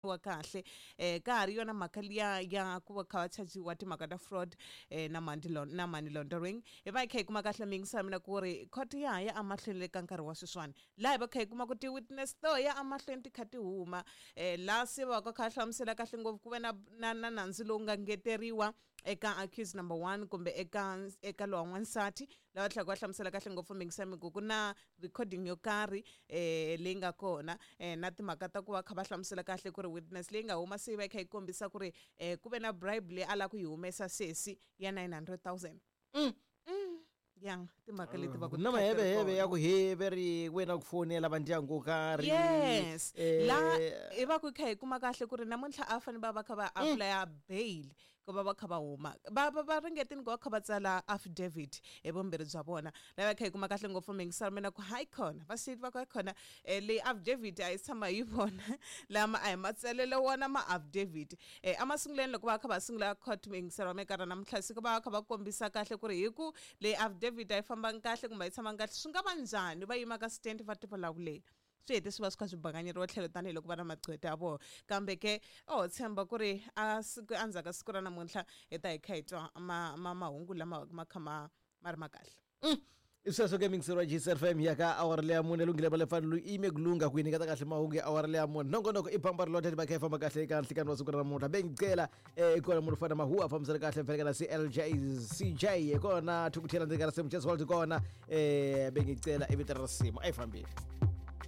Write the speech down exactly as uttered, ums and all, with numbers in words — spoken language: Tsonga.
Wa kahle eh ka ha ri yona mhaka liya ya ku va kha va chajiwa timhaka ta fraud eh na money na money laundering. Hi va hi kha hi kuma kahle miyingisa mina ku ri court ya ha ya emahlweni le ka nkarhi wa sweswiwani, laha hi va kha hi kuma ku ti-witness to ya emahlweni ti kha ti huma eh laha se va ka kha hlamusela kahle ngopfu ku ve na na na nandzu lowu nga ngeteriwa eka accused number one kumbe eka eka lowa n'wansati, lava tlhela va hlamusela kahle ngopfu miyingisa mi ku ku na recording yo karhi eh leyi nga kona eh na timhaka ta ku va kha va hlamusela kahle ku ri witness leyi nga huma se yi va yi kha yi kombisa ku ri eh ku ve na bribe leyi a lava ku yi humesa sesi ya nine hundred thousand. Mm. Mm. Ya timhaka leti va ku na maheveheve ya ku heveri wena ku fonela va ndyangu wo karhi. Yes. Eh, laha hi va ku kha hi kuma kahle ku ri namuntlha a fanele va va kha va apply bail ku va va kha va huma, va va va ringetini ku va kha va tsala affidavit hi vumbirhi bya vona. Laha va kha hi kuma kahle ngopfu mingiselo mina ku hayi khona va state va ku hayi khona eh, leyi affidavit a yi tshama hi vona lama a hi matsalelo wona ma affidavit. Eh, emasungulweni loko va kha va sungula court mingiselo wa minkarhi namuntlha siku va kha va kombisa kahle ku ri hi ku leyi affidavit a yi fambangi kahle kumbe a yi tshamangi kahle swi nga va njhani va yima ka stand va tivulavuleni, swi hete swi va swi kha swi bakanyeriwa tlhelo tanihiloko va na magqweta ya vona. Kambe ke o tshemba ku ri a siku endzhaku ka siku ra namuntlha hi ta hi kha hi twa ma ma mahungu lama ma kha ma ma ri ma kahle. I sweswo ke mingiselo wa G C F M ya ka awara leya mune lunghile va le fanele yi yime ku lungha ku yi nyiketa kahle mahungu ya awara leya mune. Nongonoko i bamba ri lothe va kha yi famba kahle eka nhlikani wa siku ra namuntlha. Bengicela eh kona munhu fana mahuwa fambisana kahle mfanekela na C L J C J kona thukuthela ndzeni ka risimu Jazz World kona eh bengicela i vito ra risimu a yi fambile.